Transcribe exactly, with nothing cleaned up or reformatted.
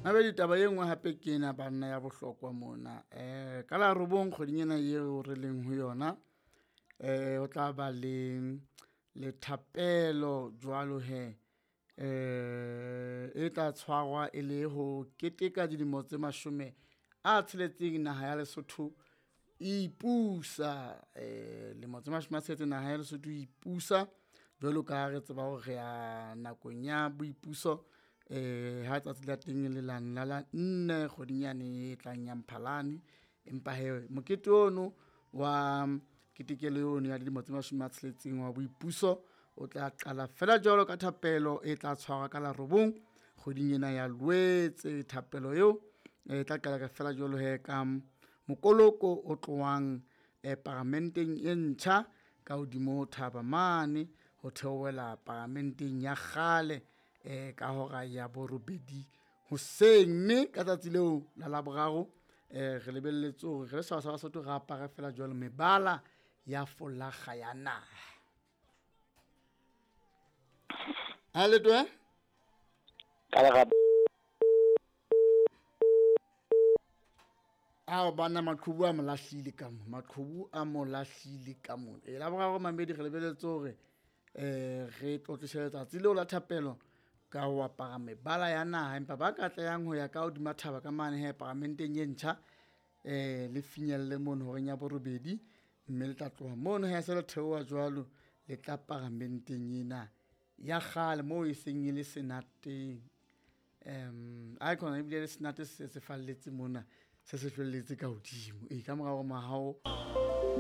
Mabedi taba e nngwe hape ke ena banna ya bohlokwa mona. Eh ka la robong kgweding ena eo re leng ho yona, eh ho tla ba le le thapelo jwalo he eh e tla tshwarwa e le ho keteka dilemo tse mashome a tsheletseng naha ya Lesotho e ipusa. Eh lemo tse mashome a tsheletseng naha ya Lesotho e ipusa jwalo ka ha re tseba hore re ya nakong ya boipuso eh ha tsatsi la teng le la la la nne kgweding yane e tlang ya Mphalane. Empa hee mokete ono wa ketekelo ono ya dilemo tse mashome a tsheletseng wa boipuso o tla qala fela jwalo ka thapelo e tla tshwarwa ka la robong kgweding ena ya Lwetse. Thapelo eo e tla qala ka fela jwalo he ka mokoloko o tlohang eh, paramenteng e ntjha ka hodimo ho thaba mane ho theohela paramenteng ya kgale eh ka hora ya borobedi hoseng. Mme ka tsatsi leo la Laboraro eh re lebelletse hore re le setjhaba sa Basotho re apare fela jwalo mebala ya folakga ya naha. Ha Letoe? Ka lerato. Ao bana maqhubu a mo lahlile ka mo, maqhubu a mo lahlile ka mo. E Laboraro mamedi re lebelletse hore eh re tlotlise letsatsi leo la thapelo ka ho apara mebala ya naha, empa ba ka tlayang ho ya ka hodima thaba ka mane he paramenteng e ntjha eh le finyelle mono horeng ya borobedi, mme le tla tloha mono he se le theoha jwalo le tla paramenteng ena ya kgale moo e seng e le senateng. Um aekhona ebile le senate se se falletse mona, se se hlwelletse ka hodimo. E ka mora hore mahao